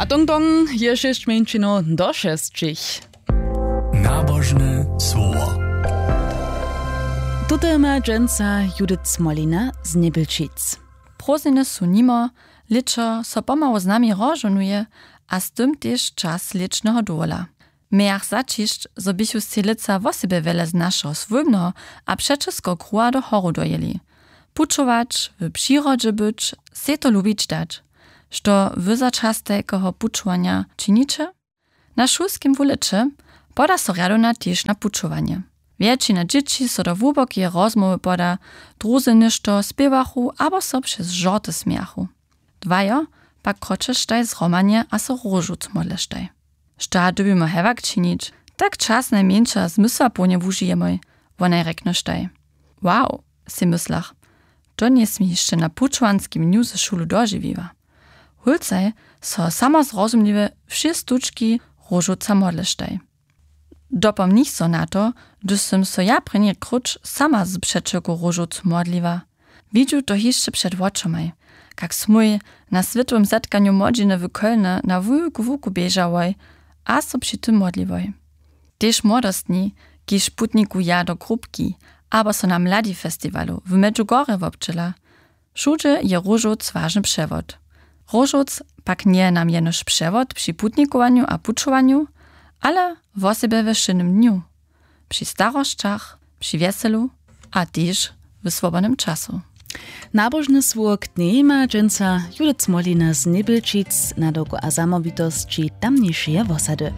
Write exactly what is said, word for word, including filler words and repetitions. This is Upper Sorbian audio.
Tong tong je šěsć mjeńšinow do šesćich. Nabožne słowo. Tute ma dźensa Judith Smolina z Njebjelčic. Prózdniny su nimo, lěćo so pomału z nami rozžohnuje, a z tym tež čas lěćneho dowola. Mějach zaćišć, zo běchu sej lětsa wosebje wjele z našeho swójbneho a přećelskeho kruha do horu dojěli. Pućować, w přirodźe być, sej to lubić dać. Što wy za čas tajkeho pućowanja činiće? Na šulskim wuleće poda so rjadowna tež na pućowanje. Wjetšina dźěći so do hłubokeje rozmołwy poda, druzy něšto spěwachu abo so přez žorty smějachu. Dwajo pak kročeštaj zhromadnje a so róžowc modleštaj. Šta dyrbimy hewak činić? Tak čas najmjeńša zmysłapołnje wužijemoj, wonaj rjeknyštaj. Wow, sej myslach, to njesmi hišće na pućowanskim dnju ze šulu dožiwiła. Hólcaj so samozrozumliwje wšě stučki róžowca modleštaj. Dopomnich so na to, hdyž sym so ja prěni króć sama z přećelku róžowc modliła. Widźu to hišće před wočomaj, kak smój na swětowym zetkanju młodźiny w kólnje na wulku łuku běžałoj a so při tym modliwoj. Tež młodostni, kiž putnikuja do grupki abo so na mladifestiwalu w medžugorje wobdźěla, wšudźe je róžowc wažny přewod. Róžowc pak njeje nam jenož přewod při putnikowanju a pućowanju, ale wosebje we wšědnym dnju, při starosćach, při wjeselu a tež w swobodnym času. Nabožne słowo k njej ma dźensa Judith Smolina z Njebjelčic na dowku a zamołwitosći tamnišeje wosady.